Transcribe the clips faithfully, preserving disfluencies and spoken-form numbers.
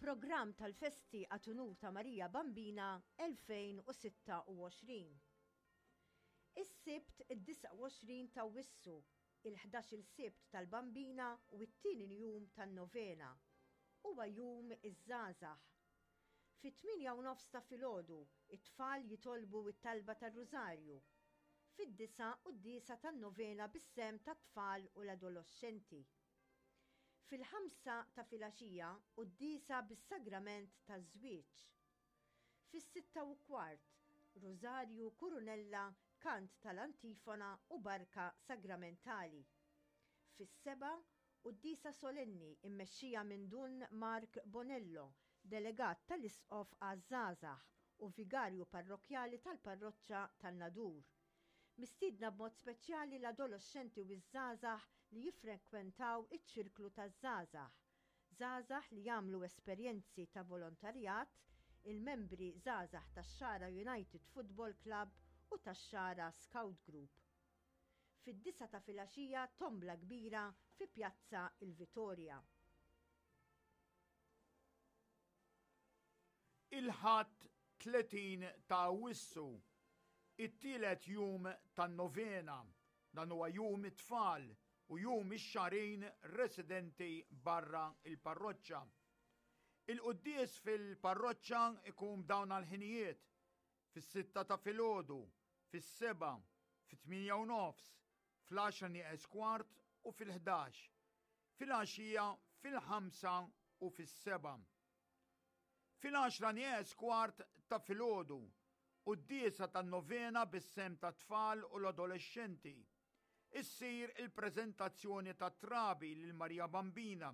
Programm tal-festi għat unur ta' Marija Bambina elfejn u sitta u għoxrin. Is-Sibt id-disgħa u għoxrin ta' Awwissu, il-ħdax-il Sibt tal-Bambina u t-tieni jum tan-novena. Huwa Jum iż-Żgħażagħ. Fit-tmienja u nofs ta' filgħodu, it-tfal jitolbu it-talba tar-Rużarju. Fid-disgħa quddiesa tan-novena bis-sehem tat-tfal u l-adolescenti. Fil-ħamsa ta' filgħaxija quddiesa bis-sagrament taż-żwieġ. Fis-sitta u kwart, Rużarju, Kurunella, kant tal-antifona u barka sagramentali. Fis-sebgħa, quddiesa solenni immexxija minn Dun Mark Bonello, delegat tal-Isqof għaż-Żgħażagħ u vigarju parrokjali tal-parroċċa tan-Nadur. Mistiedna b'mod speċjali l-adolescenti u ż-żgħażagħ li jiffrekwentaw iċ-ċirklu taż-żgħażagħ. Żgħażagħ li jagħmlu esperjenzi ta' volontarjat, il-membri żgħażagħ tax-Xagħra United Football Club u tax-Xagħra Scout Group. Fid-disgħa ta' filgħaxija tombla kbira fi Pjazza il-Vitorja. Il-Ħadd tletin ta' Awwissu, it-tielet jum tan-novena, dan huwa Jum it-Tfal u Jum ix-Xagħrin residenti barra il-parroċċa. Il-quddies fil-parroċċa ikun b'dawn għal-ħinijiet: fis-sitta ta' filgħodu, fis-sebgħa, fit-tmienja u nofs, fl-għaxra nieqes kwart u fil-ħdax. Fil-għaxija fil-ħamsa u fis-sebgħa. Fil-għaxra nieqes kwart ta' filgħodu, quddiesa tan-novena bis-sehem tat-tfal u l-adolescenti. Issir il-preżentazzjoni ta' trabi lil Marija Bambina,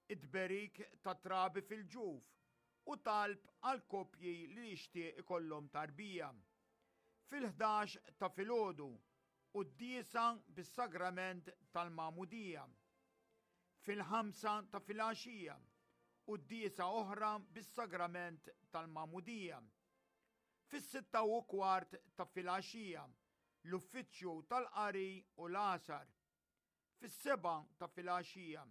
it-tberik ta' trabi fil-ġuf u talb għal koppji li jixtieq ikollhom tarbija. Fil-ħdax ta' filgħodu, quddiesa bis-sagrament tal-Magħmudija. Fil-ħamsa ta' filgħaxija, quddiesa oħra bis-sagrament tal-Magħmudija. Fis-sitta u kwart ta' filgħaxija, l-uffiċċju tal-qari u l-għasar. Fis-sebgħa ta' filgħaxija,